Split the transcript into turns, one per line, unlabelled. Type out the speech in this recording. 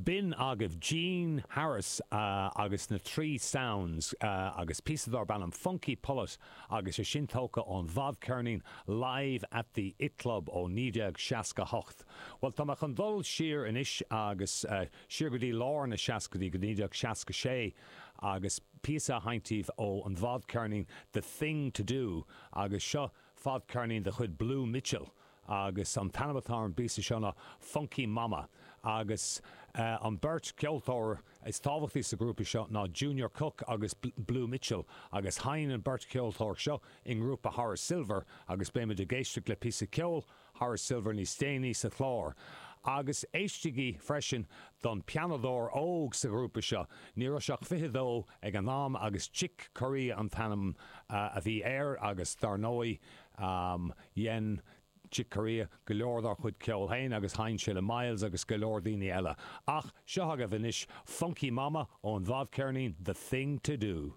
B'in agaibh Gene Harris agus na Three Sounds agus píosa darb ainm Funky Pullet agus é sin tógtha ón bhfadcheirnín Live at the It Club ó 1968. Bhuel, tá mé chun dul siar anois agus siar go dtí lár na seascaidí, go 1966 agus píosa a sheinnt daoibh ó an bhfadcheirnín The Thing to Do agus seo fadcheirnín de chuid Blue Mitchell agus an t-ainm atá ar an bpíosa seo ná Funky Mama agus an beirt ceoltóir is tábhachtaí sa ghrúpa seo ná Junior Cook agus Blue Mitchell agus sheinn an beirt cheoltóir seo i ngrúpa Horace Silver agus beimid ag éisteacht le píosa ceoil Horace Silver níos déanaí sa chlár. Agus éistigí freisin don pianadóir óg sa ghrúpa seo, ní raibh sé ach 22 ag an am agus Chick Corea an t-ainm a bhí air agus dar ndóigh dhein Chick Corea go leor dá chuid ceoil féin agus sheinn sé le Miles agus go leor daoine eile. Ach seo agaibh anois Funky Mama ón bhfadcheirnín The Thing To Do.